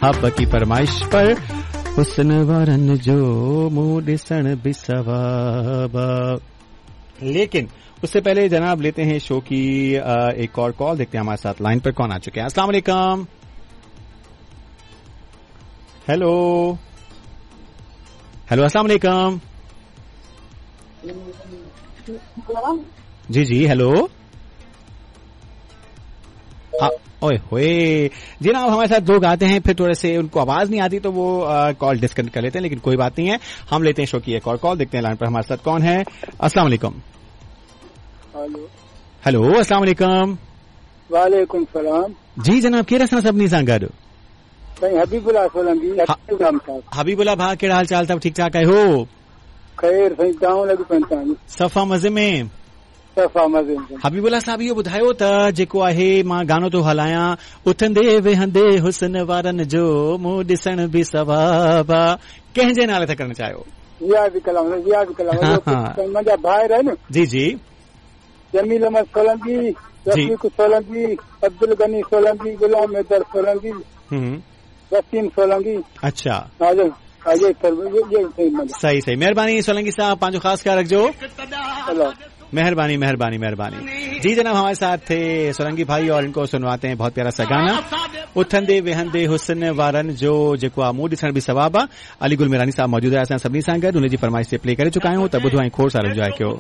साहब की फरमाइश पर हुस्न वारनि जो मुंहुं ॾिसण बि सवाब। लेकिन उससे पहले जनाब लेते हैं शो की एक और कॉल, देखते हैं हमारे साथ लाइन पर कौन आ चुके हैं। अस्सलाम वालेकुम। हेलो हेलो, अस्सलाम वालेकुम। जी जी हेलो। ओए होए जनाब, हमारे साथ लोग आते हैं फिर थोड़े से उनको आवाज नहीं आती तो वो कॉल डिस्कनेक्ट कर लेते हैं, लेकिन कोई बात नहीं है, हम लेते हैं शो की एक और कॉल, देखते हैं लाइन पर हमारे साथ कौन है। अस्सलाम वालेकुम। हेलो हेलो, अस्सलाम वालेकुम। वालेकुम सलाम। जी जनाब, केरु असां सभिनी सां गॾु? साईं हबीबुल्ला सोलंकी। हबीबुल्ला भाउ, कहिड़ा हाल चाल अथव? ठीक ठाक आहियो? ख़ैर साईं, तव्हां लॻी पवनि? सफ़ा मज़े में। सफ़ा मज़े में। हबीबुल्ला साहब, इहो ॿुधायो त जेको आहे मां गानो थो हलायां, उथंदे वेहंदे हुस्न वारनि जो मुंहुं ॾिसण बि सवाब आहे, कंहिंजे नाले था करणु चाहियो? इहा बि कलाम, इहा बि कलाम मुंहिंजा भाइर आहिनि। जी जी। जमील अहमद सोलंकी, रफ़ीक सोलंकी, अब्दुल गनी सोलंकी, गुलाम हैदर सोलंकी, वसीम सोलंकी। अच्छा, सही सही, मेहरबानी सोलंकी साहब, पंहिंजो ख़ासि ख़्यालु रखिजो। मेहरबानी मेहरबानी मेहरबानी। जी जनाब, हमारे साथ थे सोलंकी भाई और इनको सुनवाते हैं बहुत प्यारा सा गाना, उथंदे वेहंदे हुस्न वारनि जो जेको आहे मुंहुं ॾिसण बि सवाब आहे। अली गुल मेरानी साहब मौजूद आहे असां सभिनी सां गॾु, हुनजी फरमाइश ते प्ले करे चुका आहियूं, त ॿुधो ऐं खोड़ सारा एंजॉय कयो।